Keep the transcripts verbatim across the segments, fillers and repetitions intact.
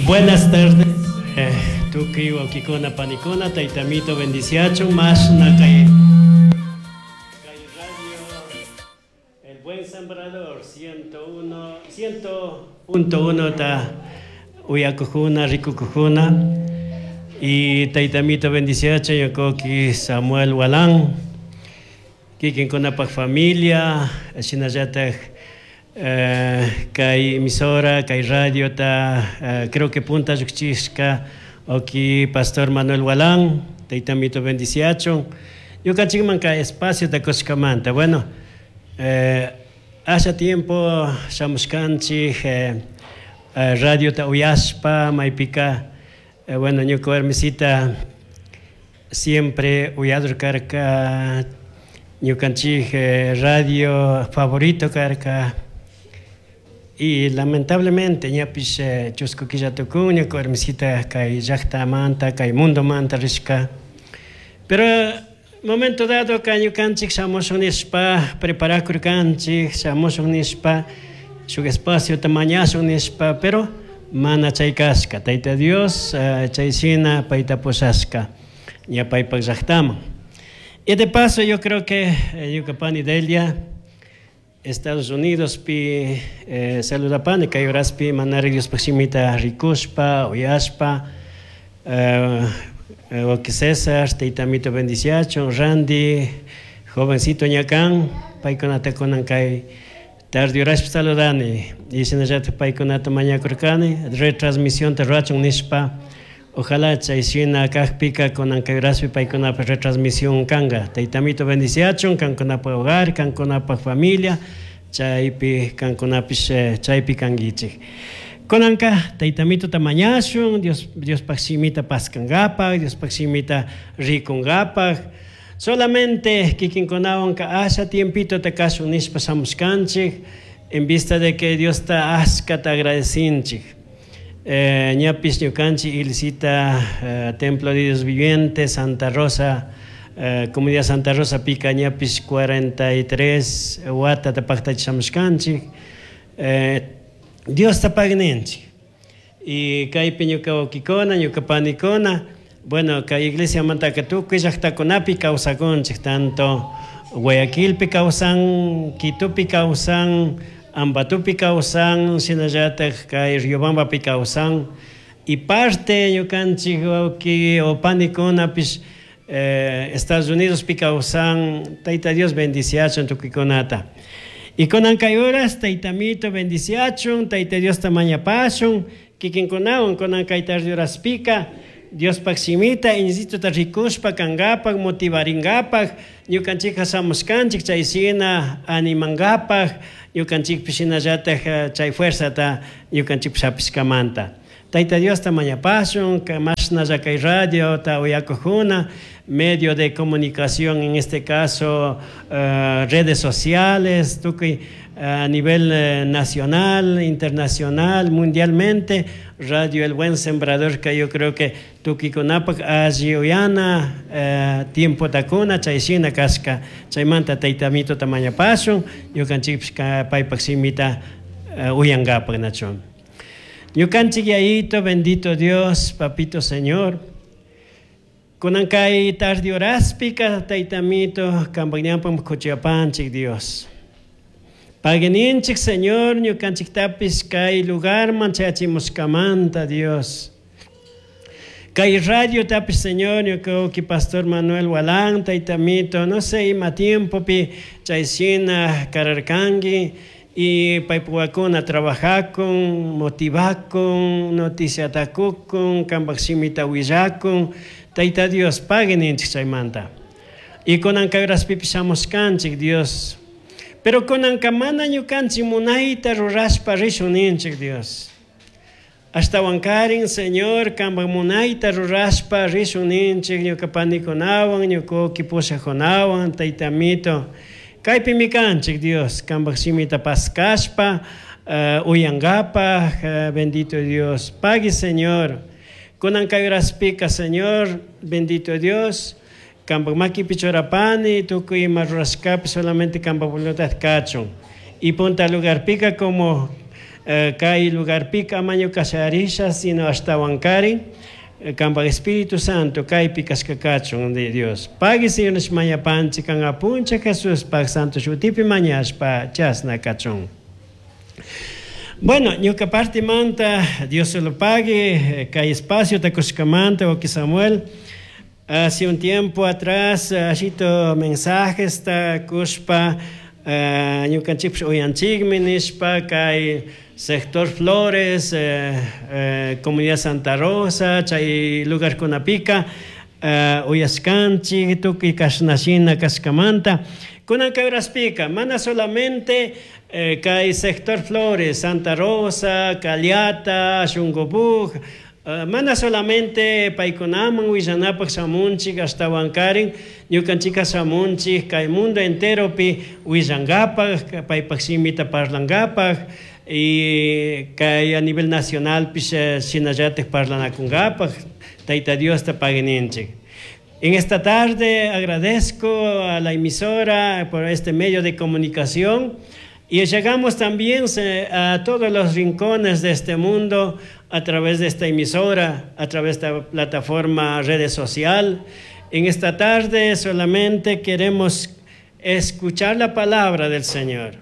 Buenas tardes, eh, tukuy wawkikuna panikuna, taytamito bendiciachun, mashna kay kay radio El Buen Sembrador ciento uno ciento punto uno ta uyakujuna, rikukujuna y taytamito bendiciachun ñuka Samuel Walán kikinkunapak familia, shinallatak eh, kay emisora, kay radio ta eh, creo que punta llukchishka wawki Pastor Manuel Walán, taytamito bendiciachun ñukanchikman kay espacio ta kushkamanta. Bueno, eh, hace tiempo shamushkanchik eh, eh, radio ta uyashpa maypika eh, bueno, ñuka warmisita siempre uyador karka, ñukanchik eh, radio favorito karka y lamentablemente ñapish eh, chusku killa tukun ñuka warmisita kay llaktamanta, kay mundomanta rishka. Pero momento dado ka ñukanchik shamushun nishpa preparakurkanchik, shamushun nishpa, shuk espacio mañashun nishpa, pero mana chay kashka. Tayta Dios uh, chay shina payta pushashka ña paypak llaktaman. Y de paso yo creo que eh, ñuka pani Delia Estados Unidos pi eh, saludapani kay horaspi manari Diospaj shimita rikushpa uyashpa eh, wawki César, taytamito bendiciachun, Randy, jovencito ña kan, paykunata kunan kay tarde horaspi saludani y shinallatak paykunata mañakurkani retransmisión rurachun nishpa. Ojalá chay shina kakpika kunan kay horaspi paykunapak retransmisión kanka. Taytamito bendiciachun kankunapak hogar, kankunapak familia, chaypi kankunapish chaypi kankichik. Kunanka taytamituta mañashun Dios Diospaj shimita paskangapak, Diospaj shimita rikungapak. Solamente kikinkunawan asha tiempito ta kashun nishpa shamushkanchik en vista de que Diosta ashkata agradecinchik. Eh, ñapish ñukanchik iglesita eh, Templo de Dios Viviente, Santa Rosa, eh, Comunidad Santa Rosa pika ñapish cuarenta y tres watata paktachishamushkanchik. Eh, Diosta pagui ninchik. Y kaypi ñuka wawkikuna, ñuka panikuna, bueno, kay iglesiamantaka tukuy llaktakunapi kawsakunchik, tanto Guayaquilpi kawsan, Quitopi kawsan, Ambatopi kawsan, shinallatak kay Riobambapi kawsan. Y parte ñukanchik wawki o panikunapish eh, Estados Unidospi kawsan. Tayta Dios bendiciachun tukuykunata. Y kunan kay horas, taytamito bendiciachun, Tayta Diosta mañapashun, kikinkunawan kunan kay tarde horaspika, Diospaj shimita, iñisituta rikushpa kangapak, motivaringapak, ñukanchikka shamushkanchik chay shina animangapak, ñukanchikpish shinallatak chay fuerzata ñukanchikpish hapishkamanta. Tayta Diosta mañapashun, mashnalla kay radiota uyakujuna, medio de comunicación, en este caso uh, redes sociales, tukuy a nivel eh, nacional, internacional, mundialmente, Radio El Buen Sembrador, que yo creo que tukuykunapak alli uyana, eh, tiempo takuna, chay shina kashka, chaymanta taytamituta mañapashun, ñukanchikpish paypak shimita uh, uyangapak nachun. Ñukanchik Yayito, bendito Dios, papito Señor, kunan kay tarde horaspika, taytamito, kampak ñawpakman kuchuyapanchik, Dios. Pagui ninchik, Señor, ñukanchiktapis kay lugarman chayachimushkamanta, Dios. Kay radio tapis, Señor, ñuka Pastor Manuel Walán, taytamito, no sé ima tiempopi chay shina kararkanki y paypukakuna trabajakun, motivakun, noticiata kukun, kampak shimita willakun. Tayta Dios, pagui ninchik chaymanta. Y kunan kay horaspipish shamushkanchik, Dios. Pero kunanka mana ñukanchik munayta rurashpa rishun ninchik, Dios. Ashtawankarin, Señor, kampak munayta rurashpa rishun ninchik ñuka panikunawan, ñuka wawki pushakunawan, taytamito. Kaypimi kanchik, Dios, kampak shimita paskashpa, uh, uyangapak, uh, bendito Dios. Pagui, Señor. Kunan kay horaspika, Señor, bendito Dios, kampak makipi churapani, tukuy ima rurashkapi solamente kampak voluntad kachun. Y punta lugarpika como Kay lugarpika ama ñuka shayarisha, sino ashtawankarin kanpak Espíritu Santo kaypi kashka kachun de Dios. Pagui Señor mañapanchik kan apunchik Jesuspak santo shutipi mañashpa chasna kachun. Bueno, ñuka partimanta, Dios se lo pague, kay espacio takushkamanta, wawki Samuel. Hace un tiempo atrás, ashito mensajes takushpa, ñukanchikpish uyanchikmi nishpa kay sector Flores, eh, eh, Comunidad Santa Rosa, chay lugarkunapika, uh, uyashkanchik tukuy kashnashina kashkamanta. Kunan kay horaspika, mana solamente eh, kay sector Flores, Santa Rosa, Caliata, Shungobuj, uh, mana solamente paykunaman willanapak shamunchik ashtawankarin, ñukanchika shamunchik kay mundo enteropi willankapak, paypak shimita parlankapak, y kay a nivel nacional pish shinallatik parlanakunkapak, Tayta Diosta paguininchik. En esta tarde agradezco a la emisora por este medio de comunicación y llegamos también a todos los rincones de este mundo a través de esta emisora, a través de esta plataforma redes social. En esta tarde solamente queremos escuchar la palabra del Señor,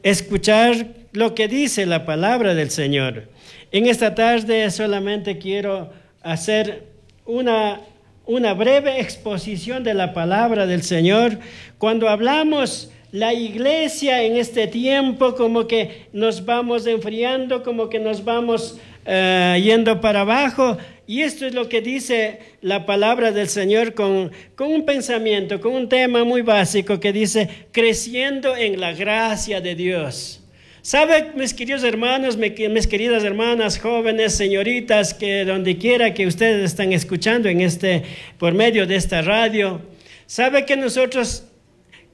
escuchar lo que dice la palabra del Señor. En esta tarde solamente quiero hacer una, una breve exposición de la palabra del Señor. Cuando hablamos la iglesia en este tiempo, como que nos vamos enfriando, como que nos vamos uh, yendo para abajo. Y esto es lo que dice la palabra del Señor con, con un pensamiento, con un tema muy básico que dice, creciendo en la gracia de Dios. ¿Sabe, mis queridos hermanos, mis queridas hermanas, jóvenes, señoritas, que donde quiera que ustedes están escuchando en este, por medio de esta radio, sabe que nosotros,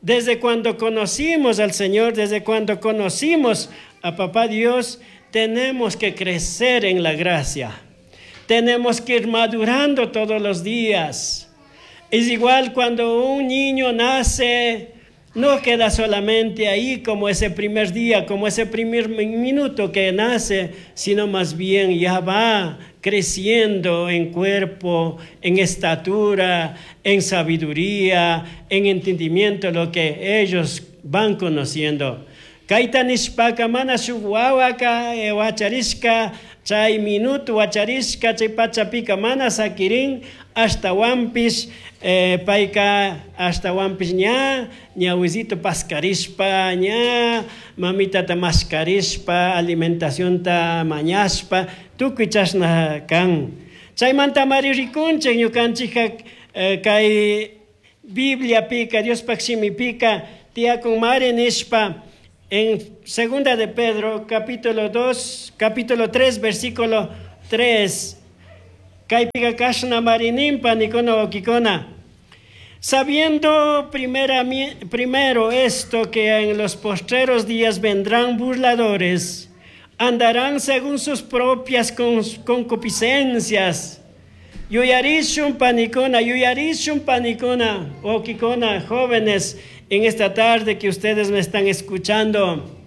desde cuando conocimos al Señor, desde cuando conocimos a Papá Dios, tenemos que crecer en la gracia. Tenemos que ir madurando todos los días. Es igual cuando un niño nace, no queda solamente ahí como ese primer día, como ese primer minuto que nace, sino más bien ya va creciendo en cuerpo, en estatura, en sabiduría, en entendimiento, lo que ellos van conociendo. Kayta nishpaka mana shuk wawaka wacharishka chay minuto wacharishka chay pachapika mana sakirin ashtawanpish eh, payka ashtawanpish ña ñawisito paskarishpa ña mamitata mashkarishpa alimentacionta mañashpa tukuy chashna kan. Chaymanta mari rikunchik ñukanchikka eh, kay Bibliapika Diospak shimipika tiyakun mari nishpa en Segunda de Pedro, capítulo dos, capítulo tres, versículo tres. Kaypika kashna marinimpa nikuna wawkikuna. Sabiendo primera, primero esto, que en los postreros días vendrán burladores, andarán según sus propias concupiscencias. Yuyarishun panikuna, yuyarishun panikuna, wawkikuna, jóvenes, en esta tarde que ustedes me están escuchando.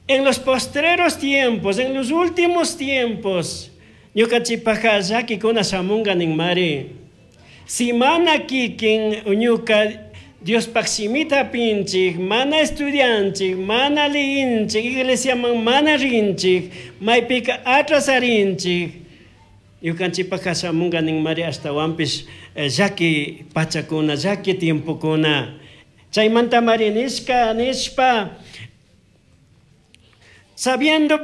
En los postreros tiempos, en los últimos tiempos, ñukanchikpajka llakikuna shamunga ninmari. Si mana kikin ñuka Diospaj shimita hapinchik, mana estudianchik, mana liyinchik, iglesiaman mana rinchik, maypika atrasarinchik, ñukanchikpajka shamunga ninmari ashtawanpish llaki pachakuna, llaki tiempokuna. Chaymanta mari nishka nishpa, sabiendo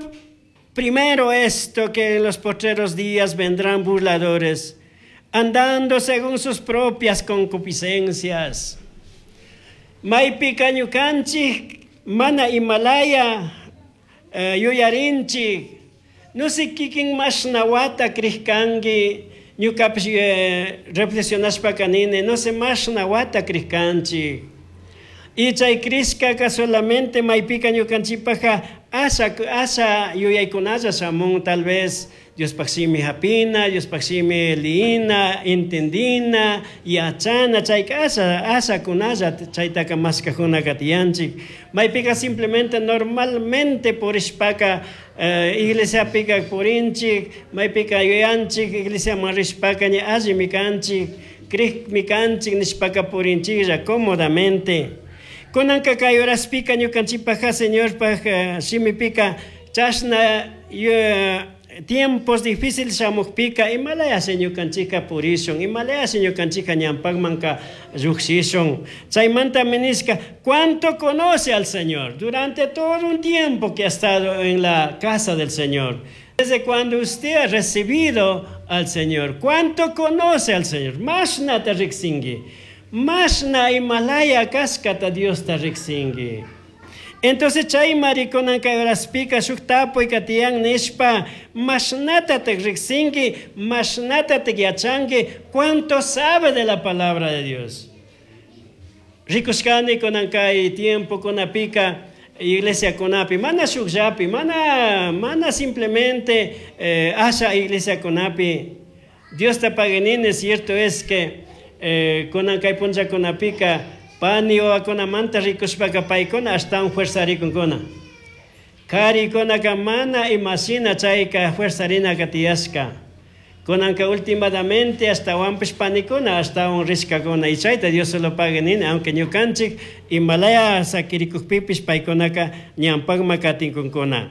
primero esto, que en los postreros días vendrán burladores, andando según sus propias concupiscencias. Maypika ñukanchik mana imalaya eh, yuyarinchik, no sé kikin mashna wata krishkanki, ñukapish eh, reflexionashpa kanini, no sé mashna wata krishkanchik. Y chay crishkaka solamente maypika ñukanchikpaja asha asha yuyaykunalla shamun tal vez Diospaj shimi hapina, Diospaj shimi liyina, entendina, yachana, chayka asha ashakunalla chaytaka mashkajunaka tiyanchik. Maypika simplemente normalmente purishpaka eh, iglesiapika purinchik, maypika yuyanchik, iglesiaman rishpaka ña allimi kanchik, crikmi kanchik nishpaka purinchiklla cómodamente. Kunanka kay horaspika ñukanchikpaja Señorpaj eh, shimipika chashna eh, tiempos difíciles shamukpika imalaya ñukanchika purishun, imalaya ñukanchika ñampakmanka llukshishun. Chaymanta nishka, ¿cuánto conoce al Señor? Durante todo un tiempo que ha estado en la casa del Señor. Desde cuando usted ha recibido al Señor, ¿cuánto conoce al Señor? Mashnata riksingui. Mashna imalaya kashkata Diosta riksingui. Entonces chaymari kunanka horaspika shuk tapuyka tiyan nishpa mashnatatak riksingui, mashnatatak yachanki, ¿cuánto sabe de la palabra de Dios? Rikushkani kunan kay tiempo kunapika iglesia kunapi, mana shukllapi, mana, mana simplemente eh, asha iglesia kunapi. Diosta pagui nini, cierto es que eh, kunan kay punlla kunapika pani wawakunamanta rikushpaka paykuna ashtawan fuerzarikunkuna. Karikunaka mana imashina chayka fuerzarinaka tiyashka. Kunanka últimamente ashtawanpish panikuna ashtawan rishkakuna y chayta Dios se lo pagui nini, aunque ñukanchik imalaya sakirikukpipish paykunaka ñampakma katinkunkuna.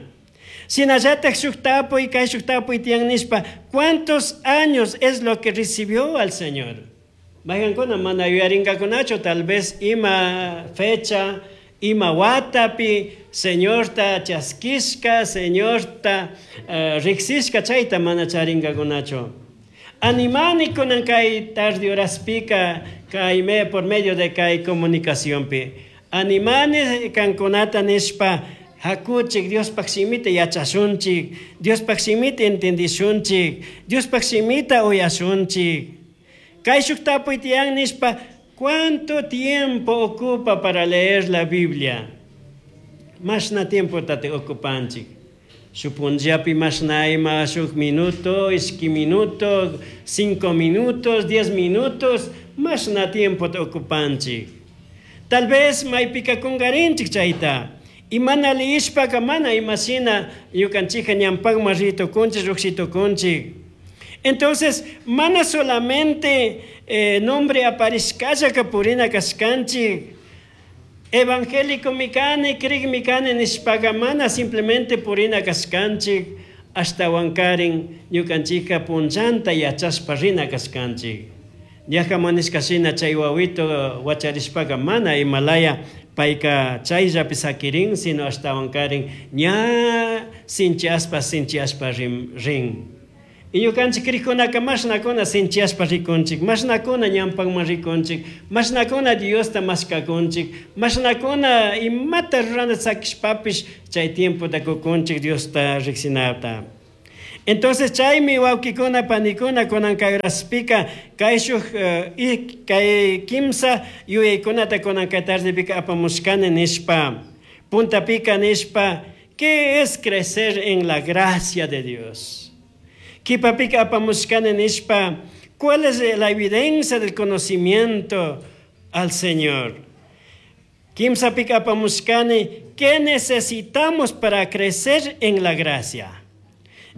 Shinallatak shuk tapuy kay shuk tapuy tiyan nishpa, ¿cuántos años es lo que recibió al Señor? Mayqankuna mana yuyarinkakunachu, tal vez ima fecha, ima watapi, Señorta chaskishka, Señorta uh, riksishka chayta mana charinkakunachu. Animani kunan kay tarde horaspika kay me por medio de kay comunicacionpi. Animani kankunata nishpa hakuchik Diospaj shimita yachashunchik, Diospaj shimita entendishunchik, Diospaj shimita uyashunchik. Kay shuk tapuy tiyan nishpa, ¿cuánto tiempo ocupa para leer la Biblia? Mashna tiempo tate ocupanchik. Shuk punllapi mashna ima shuk minuto, ishki minuto, cinco minutos, diez minutos, mashna tiempo te ocupanchik. Tal vez maypika kungarinchik chayta. Y mana liyishpaka mana imashina ñukanchika ñampakman ritukunchik, llukshitukunchik. Entonces, mana solamente eh, nombre aparishkallaka purina kashkanchik. Evangélico mikani, krik mikani nishpaka mana simplemente purina kashkanchik, ashtawankarin ñukanchika punllanta yachashpa rina kashkanchik. Ñaja manishkashina chay wawito wacharishpaka mana imalaya payka chayllapi sakirin, sino ashtawankarin ña sinchiaspa sinchiaspa rin. rin. Y ñukanchik krikkunaka mashnakuna sinchiaspa rikunchik, mashnakuna ñampakman rikunchik, mashnakuna Diosta mashkakunchik, mashnakuna imata rurana sakishpapish chay tiempota kukunchik Diosta riksinata. Entonces chaymi wawkikuna panikuna kunan kay horaspika kay shuk uh, kay kimsa yuyaykunata kunan kay tardepika apamushkani nishpa, puntapika nishpa, ¿qué es crecer en la gracia de Dios? Qhipapika apamushkani nishpa, ¿cuál es la evidencia del conocimiento al Señor? Kimsapika apamushkani, ¿qué necesitamos para crecer en la gracia?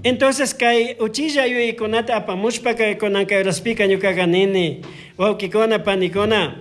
Entonces, kay uchilla yuyaykunata apamushpa kay kunan kay horaspika ñukaqa nini, wawkikuna panikuna,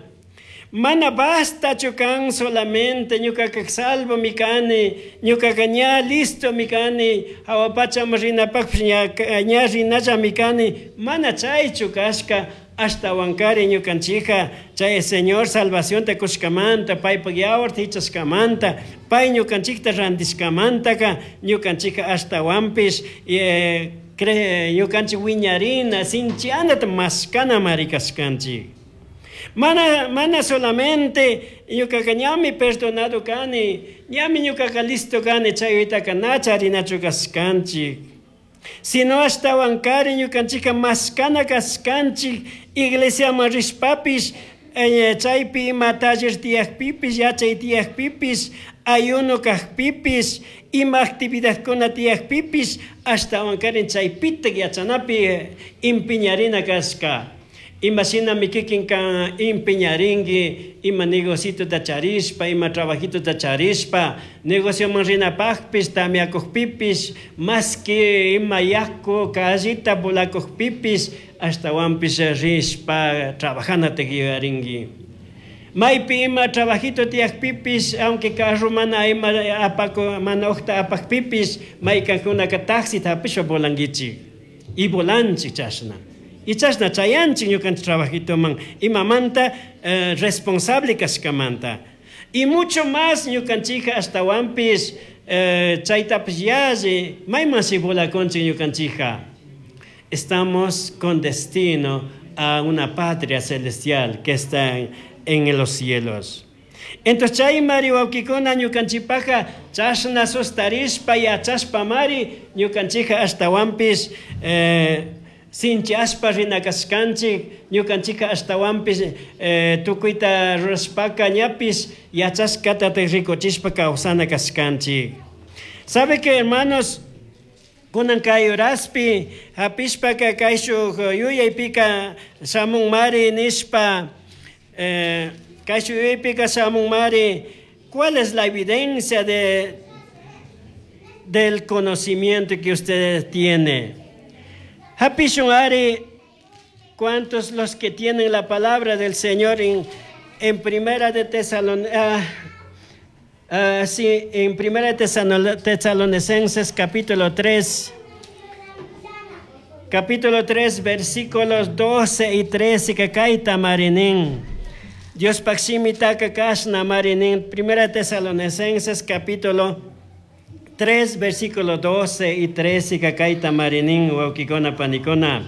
mana bastachu kan solamente ñukaka salvo mi kani, ñukaka ña listo mi kani, hawa pachaman rinapakpish ña, ña rinalla mi kani, mana chaychu kashka, ashtawankari ñukanchika chay Señor salvacionta kushkamanta, paypak yawarta hichashkamanta, pay ñukanchikta randishkamantaka, ñukanchika ashtawanpish eh, cre, ñukanchik wiñarina, sinchianata mashkana mari kashkanchik. Mana, mana solamente ñukaka ñami perdonado kani, ñami ñukaka listo kani, chaytaka na charinachu kashkanchik. Sino ashtawankari ñukanchika mashkana kashkanchik, iglesiaman rishpapish eh, chaypi ima taller tiyakpipis, yachay tiyakpipis, ayuno kajpipis, ima actividadkuna tiyakpipis, ashtawankarin chaypitak yachanapi empeñarina kashka. Ima shinami kikinka empeñarinki, ima negocitota charishpa, ima trabajitota charishpa, negocioman rinapajpish, tamiakujpipis, más que ima yaku callita volakujpipis, ashtawanpish rishpa trabajanata yuyarinki. Maypi ima trabajito tiyakpipis, aunque carro mana ima apako, mana uqta apakpipis, maykankunaka taxita hapishpa volankichik. Y volanchik chashna. Y chashna chayanchik ñukanchik trabajitoman, imamanta eh, responsable kashkamanta. Y mucho más ñukanchika ashtawanpis eh, chaytapish yalli, maymanshi volakunchik ñukanchika. Estamos con destino a una patria celestial que está en, en los cielos. Entonces chaymari wawkikuna ñukanchikpaja chashna sustarishpa yachashpa mari ñukanchika ashtawanpis eh, sinchiashpa rina kashkanchik, ñukanchika ashtawanpis eh, tukuyta rurashpaka ñapis yachashkata rikuchishpa kawsana kashkanchik. ¿Sabe que, hermanos? Kunan kay horaspi hapishpaka kayshuk yuyaypika shamun mari nishpa, eh, kayshuk yuyaypika shamun mari, ¿cuál es la evidencia de, del conocimiento que usted tiene? Hapishun ari, ¿cuántos los que tienen la palabra del Señor en, en Primera de Tesalon-, ah, ah, sí, en Primera de Tesalon-, Tesalonicenses capítulo tres, capítulo tres, versículos doce y trece, que kaita marinin. Dios paximita kashna marinin. Primera de Tesalonicenses capítulo tres, versículo doce y trece, que kaita marinin, wawkikuna panikuna.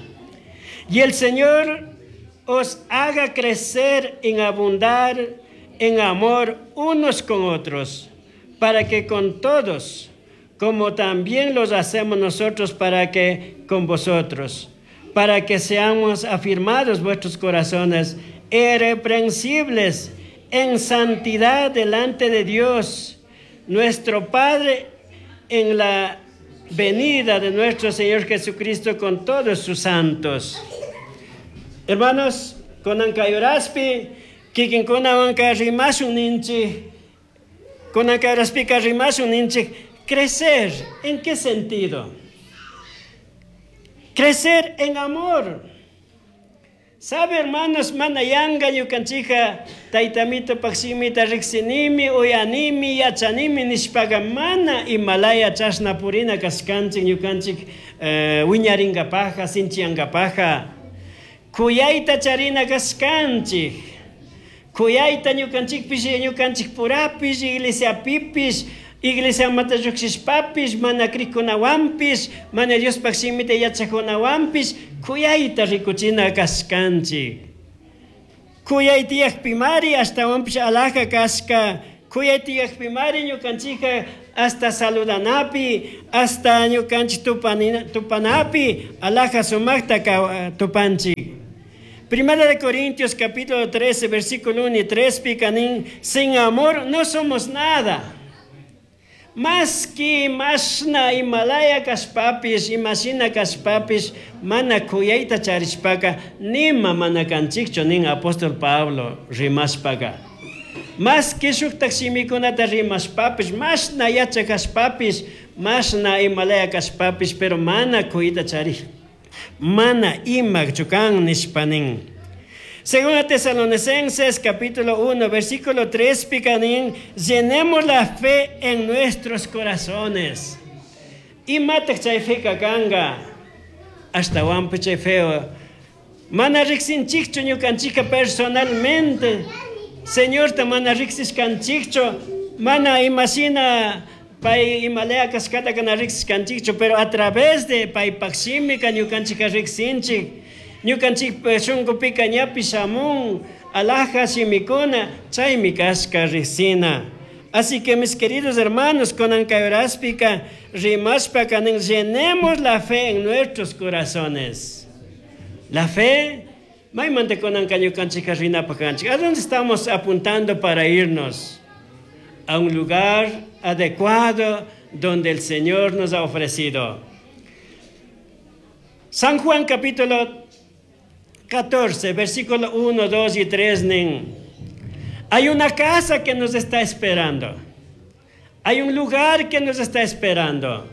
Y el Señor os haga crecer en abundar en amor unos con otros, para que con todos, como también los hacemos nosotros para que con vosotros, para que seamos afirmados vuestros corazones, irreprensibles en santidad delante de Dios, nuestro Padre, en la venida de nuestro Señor Jesucristo con todos sus santos. Hermanos, kunan kay horaspi, kikinkunawanka rimashun ninchik, kunan kay horaspika rimashun ninchik, crecer, ¿en qué sentido? Crecer en amor. ¿Sabe, hermanos, mana yanga ñukanchika taytamito paksimita riksinimi, uyanimi, yachanimi nishpaga mana imalaya chashna purina kashkanchik ñukanchik, eh, wiñaringapaja, sinchiangapaja. Kuyayta charina kashkanchik. Kuyayta ñukanchikpish, ñukanchik purapish, iglesiapipish, iglesia mata lluqshishpapish, mana krikunawanpish, mana Diospaq shimita yachakunawanpish, kuyayta rikuchina kashkanchik. Kuyay tiyakpimari ashtawanpish alaja kashka, kuyay tiyakpimari ñukanchikka hasta saludanapi, hasta ñukanchik tupanina, tupanapi, alaja sumakta ka, tupanchik. Primera de Corintios capítulo trece, versículo uno y tres, picanín, sin amor no somos nada. Más que mashna Himalaya kashpapis, imashina kashpapis, mana kuyayta charishpaka, nima mana kanchikchu nin apóstol Pablo rimashpaka. Más que shuktak shimikunata rimashpapis, mashna yacha kashpapis, mashna Himalaya kashpapis, pero mana kuyayta charij, mana ima chukan nishpanin. Según Tesalonicenses capítulo uno, versículo tres, picanín, llenemos la fe en nuestros corazones. Y matak chay fe kakanga, hasta wampu chay feo. Mana riksinchikchu ñukanchika personalmente. Señor ta mana riksishkanchikchu, mana imashina pay imalaya kashkata kana riksishkanchikchu, pero a través de pay pakshimika ñukanchika riksinchik. Ñukanchik shunqupika ñapi shamun, alaja shimikuna, chaymi kashka riksina. Así que mis queridos hermanos, con ancayuraspika, rimashpa kanin, llenemos la fe en nuestros corazones. La fe Maymanta kunanka ñukanchikka rinapaq kanchik. ¿A dónde estamos apuntando para irnos? A un lugar adecuado donde el Señor nos ha ofrecido. San Juan capítulo catorce, versículo uno, dos y tres. Hay una casa que nos está esperando. Hay un lugar que nos está esperando.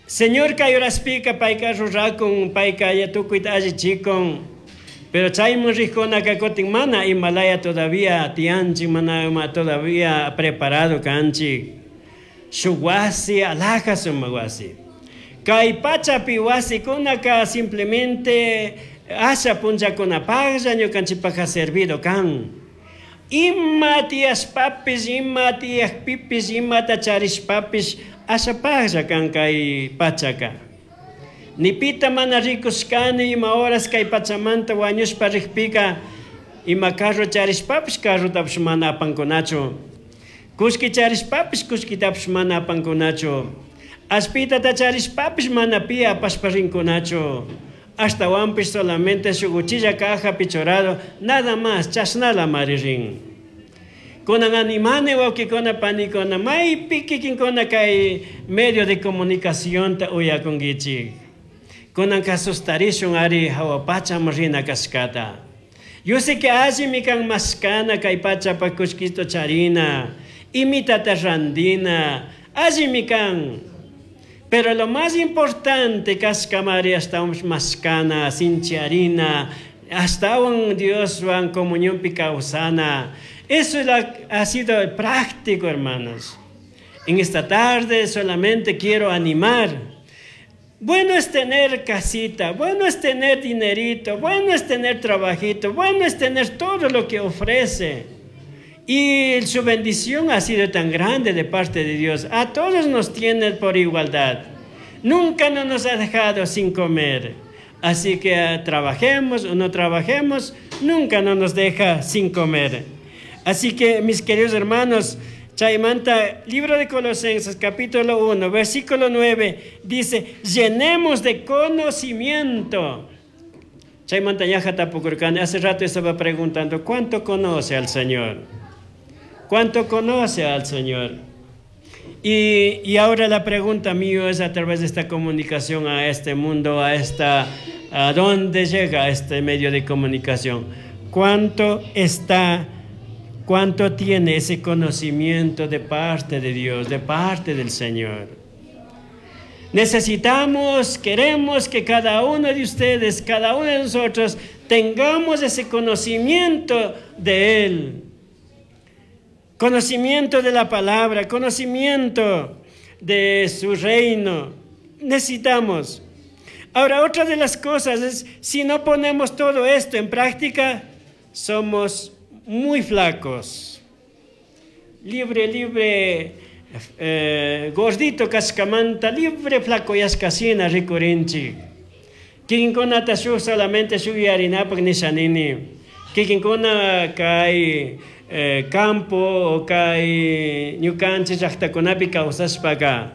Señor kay horaspika payka rurakun, payka tukuyta allichikun. Pero chayman rijkunaka kutin mana imalaya todavía tiyanchik, mana ima todavía preparado kanchik. Shuk wasi, alhaja sumak wasi. Kay pachapi wasikunaka simplemente asha punllakunapaqlla ñukanchikpaqqa servido kan. Ima tiyashpapis, ima tiyakpipis, imata charishpapis, ashapaqlla kan kay pachaka. Ni pita mana rikushkani ima horas kay pachamanta wañushpa rikpika, ima carro charishpapis, carrotapish mana apankunachu. Kullki charishpapis, kullkitapish mana apankunachu. Ashpitata charishpapis mana pi apashpa rinkunachu. Ashtawanpish solamente shuk uchilla caja pichorado, nada más, chashnala mari rin. Kunan animani wawkikuna panikuna, maypi kikinkuna kay medio de comunicación ta uyakunkichik. Kunanka sustarishun ari hawa pachaman rina kashkata. Yo sé que allimi kan mashkana kay pachapa kullkito charina, imitata randina, allimi kan. Pero lo más importante kashkamari hasta un mashkana, sinchiarina, hasta un Dios van comunión picausana. Eso es la, ha sido práctico, hermanos. En esta tarde solamente quiero animar. Bueno es tener casita, bueno es tener dinerito, bueno es tener trabajito, bueno es tener todo lo que ofrece. Y su bendición ha sido tan grande de parte de Dios. A todos nos tiene por igualdad. Nunca no nos ha dejado sin comer. Así que trabajemos o no trabajemos, nunca no nos deja sin comer. Así que, mis queridos hermanos, Chaymanta, libro de Colosenses, capítulo uno, versículo nueve, dice, llenemos de conocimiento. Chaymanta yaja tapukurkani, hace rato estaba preguntando, ¿cuánto conoce al Señor? ¿Cuánto conoce al Señor? Y, y ahora la pregunta mía es a través de esta comunicación a este mundo, a esta, a dónde llega este medio de comunicación. ¿Cuánto está, cuánto tiene ese conocimiento de parte de Dios, de parte del Señor? Necesitamos, queremos que cada uno de ustedes, cada uno de nosotros, tengamos ese conocimiento de Él. Conocimiento de la palabra, conocimiento de su reino. Necesitamos. Ahora, otra de las cosas es, si no ponemos todo esto en práctica, somos muy flacos. Libre, libre, eh, gordito cascamanta, libre flaco yascasina ricurinchi. Kikinkunata shu solamente shu yarinapak nishanini. Kikinkuna kay eh, campo o kay ñukanchik llaqtakunapi kawsashpaka.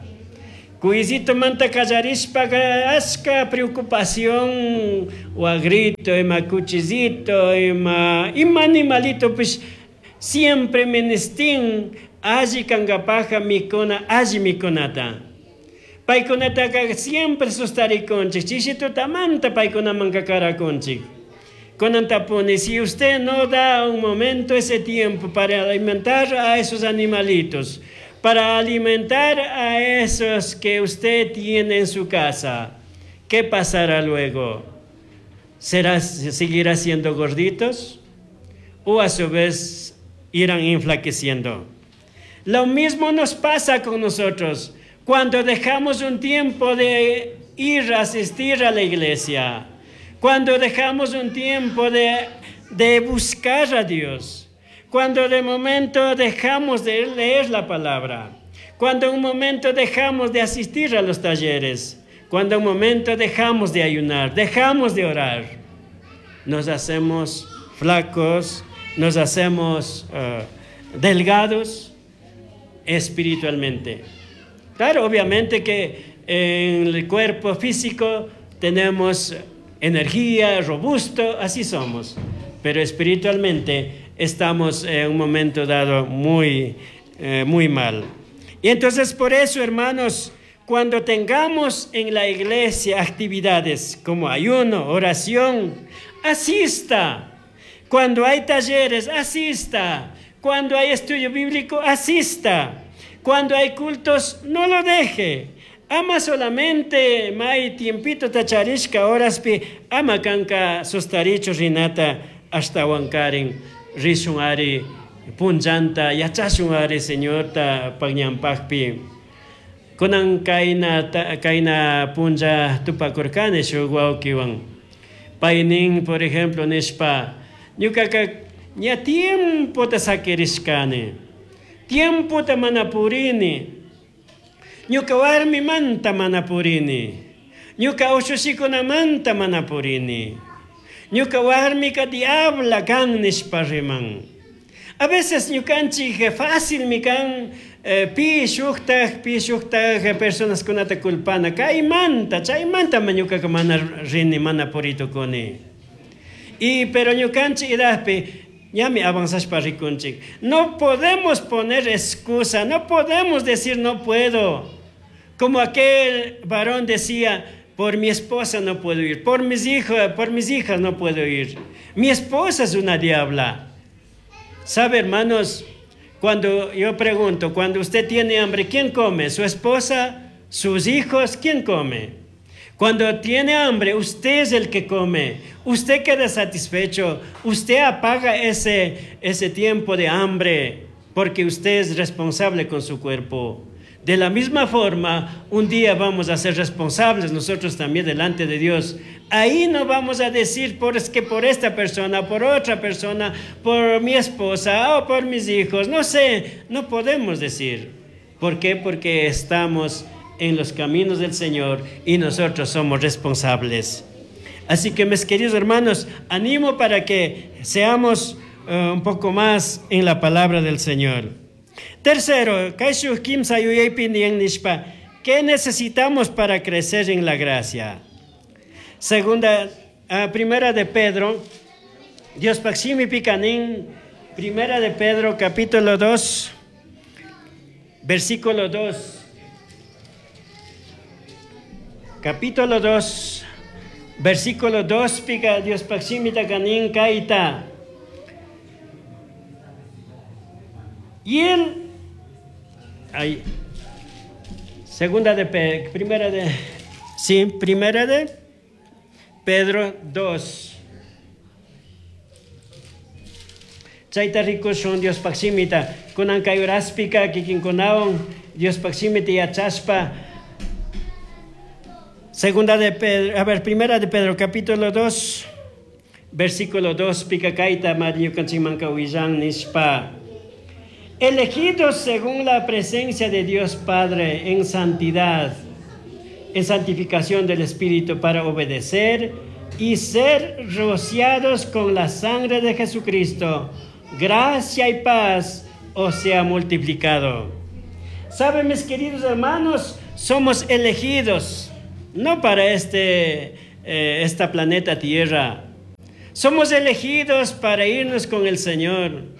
Kuisito manta kallarishpaka ashka preocupación wagrito, ima cuchillito, ima, ima animalito, pues siempre menestín alli kangapaja mikuna, alli mikunata. Paykunataka siempre sustarikunchik, chishitutamanta paykunamanka karakunchik. Kunantapuni, si usted no da un momento ese tiempo para alimentar a esos animalitos, para alimentar a esos que usted tiene en su casa, ¿qué pasará luego? ¿Será, seguirá siendo gorditos? ¿O a su vez irán enflaqueciendo? Lo mismo nos pasa con nosotros cuando dejamos un tiempo de ir a asistir a la iglesia, cuando dejamos un tiempo de, de buscar a Dios, cuando de momento dejamos de leer la palabra, cuando un momento dejamos de asistir a los talleres, cuando un momento dejamos de ayunar, dejamos de orar, nos hacemos flacos, nos hacemos uh, delgados espiritualmente. Claro, obviamente que en el cuerpo físico tenemos energía, robusto, así somos. Pero espiritualmente estamos en un momento dado muy, eh, muy mal. Y entonces por eso, hermanos, cuando tengamos en la iglesia actividades como ayuno, oración, asista. Cuando hay talleres, asista. Cuando hay estudio bíblico, asista. Cuando hay cultos, no lo deje. Ama solamente mai tiempito ta charishka horaspi ama kanka sustarichu rinata ashtawankarin rishun ari punllanta yachashun ari Señorta pañampakpi. Kunan kayna kayna punlla tupakurkani shuk wawkiwan. Paynin, por ejemplo, nishpa ñukaka ña tiempota sakirishkani, tiempota mana purini, ñuka warmimanta mana purini, ñuka ushushikunamanta mana purini, ñuka warmika diabla kan nishpa riman. A veces ñukanchik fácil mi kan eh, pi shuktaj, pi shuktaj personas kunata culpana, kaymanta, chaymanta ma ñukaka mana rini, mana puritukuni. Y pero ñukanchik edadpi ñami avanzashpa rikunchik. No podemos poner excusa, no podemos decir no puedo. Como aquel varón decía, por mi esposa no puedo ir, por mis hijos, por mis hijas no puedo ir. Mi esposa es una diabla. ¿Sabe, hermanos? Cuando yo pregunto, cuando usted tiene hambre, ¿quién come? ¿Su esposa? ¿Sus hijos? ¿Quién come? Cuando tiene hambre, usted es el que come. Usted queda satisfecho. Usted apaga ese, ese tiempo de hambre porque usted es responsable con su cuerpo. De la misma forma, un día vamos a ser responsables nosotros también delante de Dios. Ahí no vamos a decir por, es que por esta persona, por otra persona, por mi esposa o por mis hijos. No sé, no podemos decir. ¿Por qué? Porque estamos en los caminos del Señor y nosotros somos responsables. Así que, mis queridos hermanos, animo para que seamos uh, un poco más en la palabra del Señor. Tercero, ¿qué necesitamos para crecer en la gracia? Segunda, uh, primera de Pedro, Dios paximi picanín, primera de Pedro, capítulo dos, versículo dos. Capítulo dos, versículo dos, pica Dios paximi tacanín kaita. Y él, ahí, segunda de Pedro, primera de, sí, primera de Pedro dos. Chaita rikushun Dios paximita, kunan kayuraspika kikinkunawan Dios paximita yachaspa. Segunda de Pedro, a ver, primera de Pedro, capítulo dos, versículo dos, pica kaita mariukanchimanka willan nishpa. Elegidos según la presencia de Dios Padre en santidad, en santificación del Espíritu para obedecer y ser rociados con la sangre de Jesucristo, gracia y paz os sea multiplicado. Saben, mis queridos hermanos, somos elegidos, no para este, eh, esta planeta Tierra. Somos elegidos para irnos con el Señor.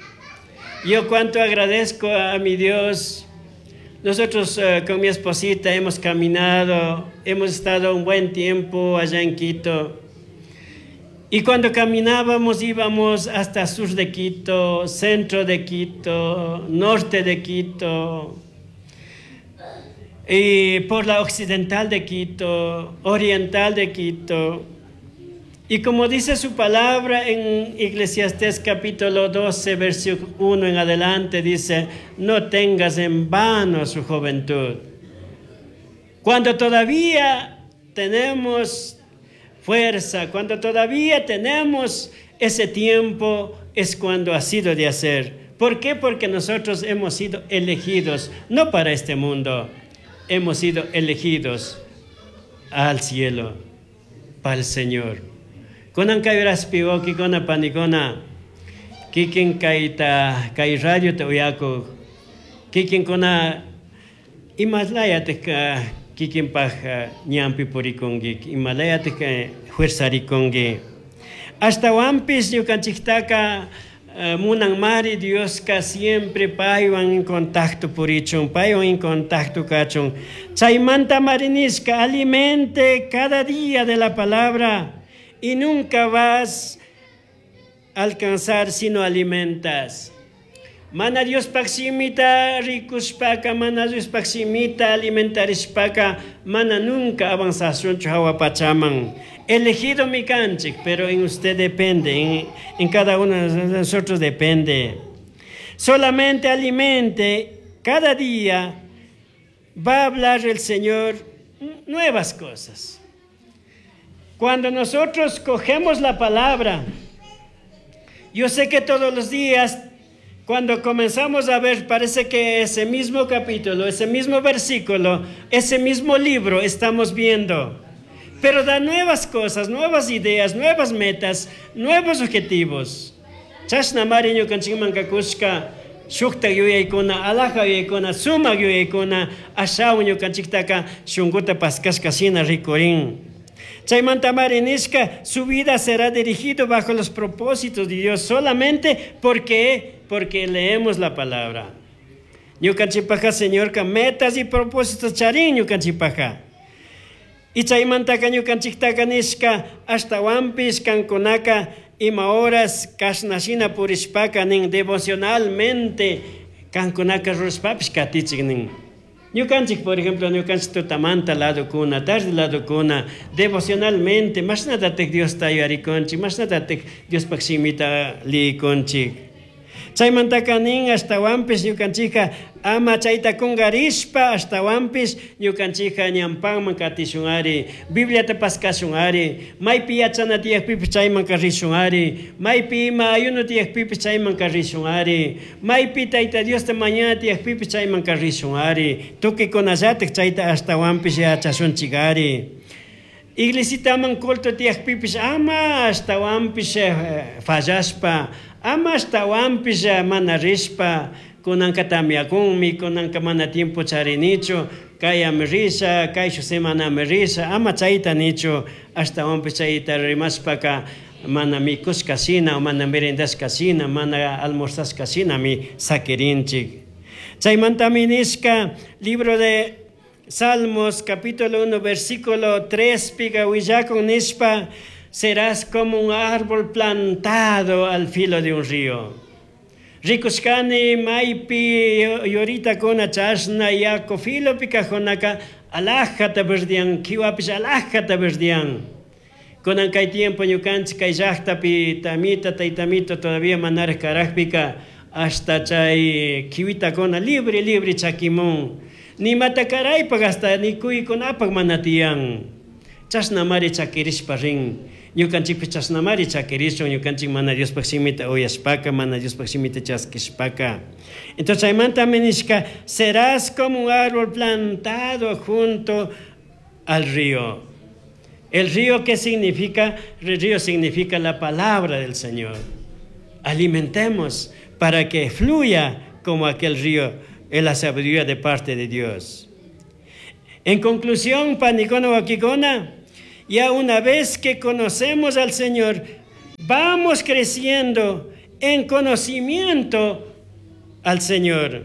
Yo cuánto agradezco a mi Dios. Nosotros eh, con mi esposita hemos caminado, hemos estado un buen tiempo allá en Quito. Y cuando caminábamos íbamos hasta sur de Quito, centro de Quito, norte de Quito, y por la occidental de Quito, oriental de Quito. Y como dice su palabra en Eclesiastés capítulo doce, versículo uno en adelante, dice, no tengas en vano su juventud. Cuando todavía tenemos fuerza, cuando todavía tenemos ese tiempo, es cuando ha sido de hacer. ¿Por qué? Porque nosotros hemos sido elegidos, no para este mundo, hemos sido elegidos al cielo, para el Señor. Kunan kayuraspi wawkikuna panikuna, kikin kayta kay radio ta uyakuq, kikinkuna imalayataq Kikinpaj ñanpi purikunki, imalayatik fuerzarikunki. Ashtawanpish ñukanchiktaka munanmari Dioska siempre paywan en contacto purichun, paywan en contacto kachun. Chaymanta mari nishka, alimente cada día de la palabra y nunca vas a alcanzar si no alimentas. Mana Diospaj shimita rikushpaka, mana Diospaj shimita alimentarishpaka, mana nunca avanzashunchu hawa pachaman. Elegido mi kanchik, pero en usted depende, en, en cada uno de nosotros depende. Solamente alimente, cada día va a hablar el Señor nuevas cosas. Cuando nosotros cogemos la palabra, yo sé que todos los días, cuando comenzamos a ver, parece que ese mismo capítulo, ese mismo versículo, ese mismo libro estamos viendo. Pero da nuevas cosas, nuevas ideas, nuevas metas, nuevos objetivos. Chashna mari ñukanchikman kakushka, shuktak yuyaykuna, alaja yuyaykuna, sumak yuyaykuna, ashawan ñukanchiktaka shunkuta paskashka shina rikurin. Chaymanta mari nishka, su vida será dirigido bajo los propósitos de Dios solamente porque, porque leemos la palabra. Ñukanchikpaja, Señorka, metas y propósitos charin ñukanchikpaja. Y chaymantaka ñukanchiktaka nishka, ashtawanpish kankunaka ima horas kashnashina purishpaka nin devocionalmente kankunaka rurashpapish katichik nin. Ñukanchik, por ejemplo, ñukanchik tutamanta ladokuna, tarde ladokuna, devocionalmente, mashnatatik Diosta yuyarikunchik, mashnatatik Diospaj shimita liyikunchik. Chaymantaka nin ashtawanpish ñukanchikka ama chayta kungarishpa ashtawanpish ñukanchikka ñanpanman katishun ari, Bibliata paskashun ari, maypi yachana tiyakpipish chayman rishun ari, maypi ima ayuno tiyakpipish chayman rishun ari, maypi Tayta Diosta mañana tiyakpipish chayman rishun ari, tukuykunallatik chayta ashtawanpish yachashunchik ari. Iglesitaman culto tiyakpipish ama ashtawanpish fallashpa, ama ashtawanpish mana rishpa, kunanka tamyakunmi, kunanka mana tiempo charinichu, kayami risha, kayshu semanami risha, ama chayta nichu, ashtawanpish chayta rimashpaka mana mikushka shina, mana merendashka shina, mana almorzashka shinami sakirinchik. Chaymantami nishka, libro de Salmos, capítulo uno, versículo tres, piga willakun nishpa, serás como un árbol plantado al filo de un río. Rikushkani maypi yoritakuna chashna yaku filopi kajkunaka alajata verdian, kiwapish alajata verdian. Kunan kay tiempo ñukanchik kay llaqtapi tamita taytamito todavía manaraj karajpika hasta chay kiwitakuna libre libre chakimun. Nimata karaypaq hasta nikuykunapaq mana tiyan. Chashnamari chakirishpa rin. Ñukanchikpish chashnamari chakirishun, ñukanchik mana Diospaj shimita uyashpaka, mana Diospaj shimita chaskishpaka. Entonces chaymantami nishka, serás como un árbol plantado junto al río. El río, ¿qué significa? El río significa la palabra del Señor. Alimentemos para que fluya como aquel río en la sabiduría de parte de Dios. En conclusión, panikuna wawkikuna, ya una vez que conocemos al Señor, vamos creciendo en conocimiento al Señor.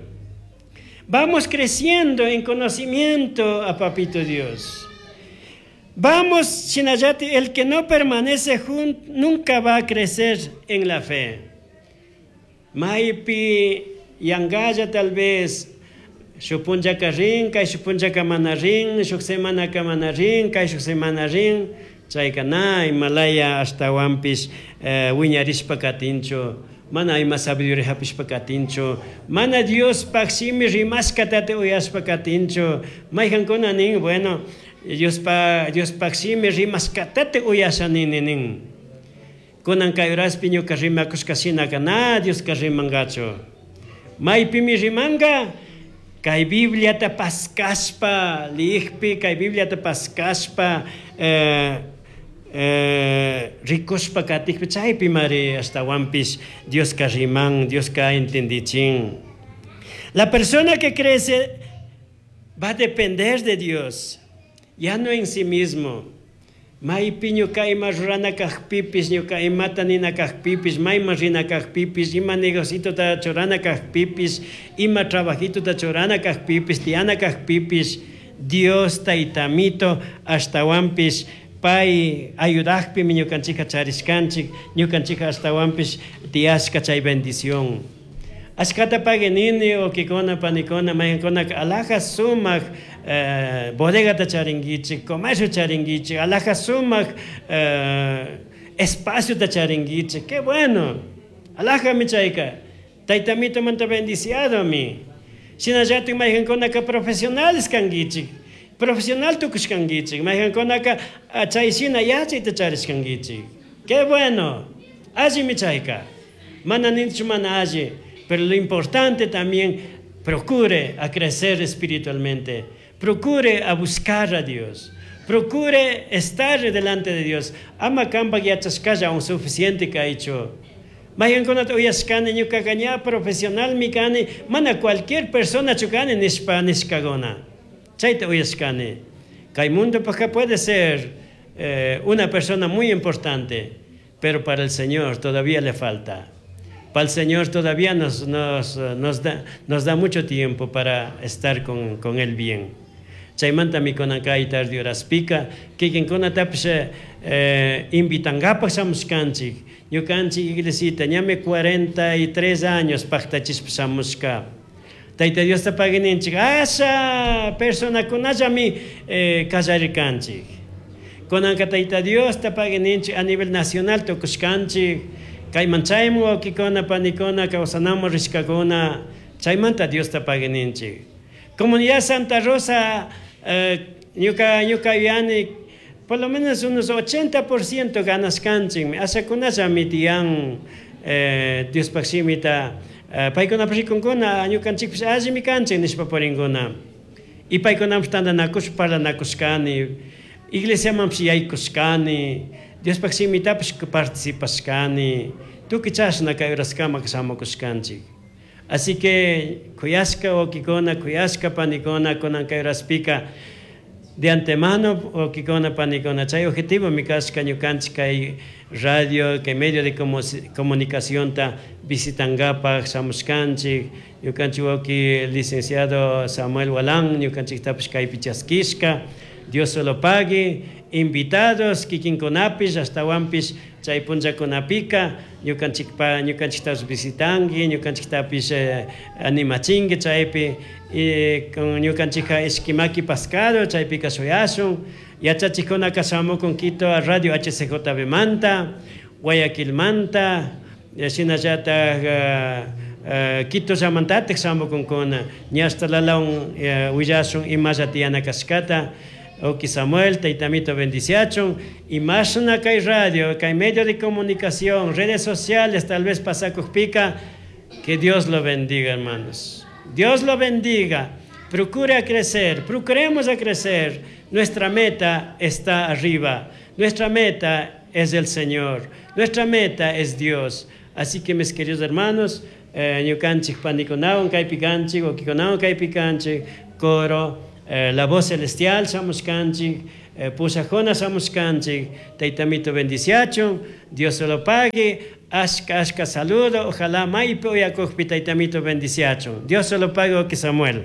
Vamos creciendo en conocimiento a Papito Dios. Vamos, shinallati, el que no permanece junto nunca va a crecer en la fe. Maypi yangalla tal vez, shuk punllaka rin, kay shuk punllaka mana rin, shuk semanaka mana rin, kay shuk semana rin, chayka na imalaya ashtawanpish, eh, wiñarishpa katinchu, mana ima sabiduría hapishpa katinchu, mana Diospaj shimi rimashkatata uyashpa katinchu. Mayqankuna nin, bueno, Diospa, Diospaj shimi rimashkatata uyasha nini nin. Kunan kay horaspi ñuka rimakushka shinaka na Dioska rimangachu. Maypimi rimanga, kay Bibliata paskashpa liyikpi, kay Bibliata paskashpa, eh, eh, rikushpa katikpi, chaypi mari ashtawanpish Dioska riman, Dioska entendichin. La persona que crece va a depender de Dios. Ya no en sí mismo. Maipi ñuka ima rurana kajpipish, ñuka imata nina kajpipish, mayman rina kajpipish, ima negocitota churana kajpipish, ima trabajitota churana kajpipish, tiyana kajpipish, Dios taytamito ashtawanpish pay ayudajpimi ñukanchika charishkanchik, ñukanchika ashtawanpish tiyashka chay bendición. Ashkata pagui nini wawkikuna panikuna maykankunaka alhaja sumak eh, bodegata charinguichik, comercio charinguichik, alhaja sumak eh, espaciota charinguichik, qué bueno. Alhajami chayka. Taytamitomanta bendiciadomi. Shinallatik maykankunaka profesionales kanguichik. Profesional tukushkanguichik. Maykankunaka chay shina yachayta charishkanguichik. Qué bueno. Allimi chayka. Mana ninchu mana alli. Pero lo importante también, procure a crecer espiritualmente. Procure a buscar a Dios. Procure estar delante de Dios. Ama kanpak yachashkalla aún suficiente kaychu. Maykankunata uyashkani ñukaka ña profesionalmi kani, mana cualquier persona chukani nishpa nishkaguna. Chayta uyashkani. Kay mundopajka puede ser eh, una persona muy importante, pero para el Señor todavía le falta. Para el Señor todavía nos, nos, nos, da, nos da mucho tiempo para estar con, con Él bien. Chaymantami kunan kay tarde horaspika, kikinkunatapish eh, invitangapak shamushkanchik. Ñukanchik iglesita, ñami cuarenta y tres años paktachishpa shamushka. Tayta Diosta pagui ninchik, asha personakunallami eh, kallarirkanchik. Kunanka Tayta Diosta pagui ninchik a nivel nacional tukushkanchik. Kayman chayman wawkikuna panikuna kawsanamun rishkakuna, chaymanta Diosta pagui ninchik. Comunidad Santa Rosa, eh, ñuka, ñuka yuyani, por lo menos unos ochenta por ciento ganashkanchikmi, ashakunallami tiyan, eh, Diospaj shimita, eh, paykunapish rikunkuna, ñukanchikpish allimi kanchik nishpa purinkuna. Y paykunapish tantanakushpa parlanakushkani, iglesiamanpish yaykushkani, Diospaj shimitapish participashkani, tukuy chashna kay horaskama shamukushkanchik. Así que kuyashka wawkikuna, kuyashka panikuna, kunan kay horaspika, de antemano wawkikuna panikuna, chay objetivo mi kashka ñukanchik kay radio, kay medio de comunicación ta visitangapaj shamushkanchik, ñukanchik wawki licenciado Samuel Walán, ñukanchiktapish kaypi chaskishka, Dios se lo pague, invitados kikinkunapish ashtawanpish chay punllakunapika ñukanchikpa ñukanchiktapish visitanki, ñukanchiktapish, eh, animachinki chaypi, y con ñukanchikka ishkimaki pascado chaypika shuyashun, yachachikkunaka shamukun Quito a Radio H C J B manta, Guayaquilmanta, shinallatak, eh, eh, Quito llamantatik shamukunkuna, ña hasta lalawan, eh, willashun imalla tiyana kashkata. Oki Samuel, Taitamito bendiciachon, y más una kay radio, kay medio de comunicación, redes sociales, tal vez pasacujpica, que Dios lo bendiga, hermanos. Dios lo bendiga. Procure crecer, procuremos a crecer. Nuestra meta está arriba. Nuestra meta es el Señor. Nuestra meta es Dios. Así que, mis queridos hermanos, eh, ñukanchik panikunawan kaypikanchik, wawkikunawan kaypikanchik, coro, eh, la voz celestial shamushkanchik, eh, pushajona shamushkanchik, Taitamito bendiciachun, Dios se lo pague, ashka, ashka saludo, ojalá maypi uyakujpi Taitamito bendiciachun. Dios se lo pague, que Samuel.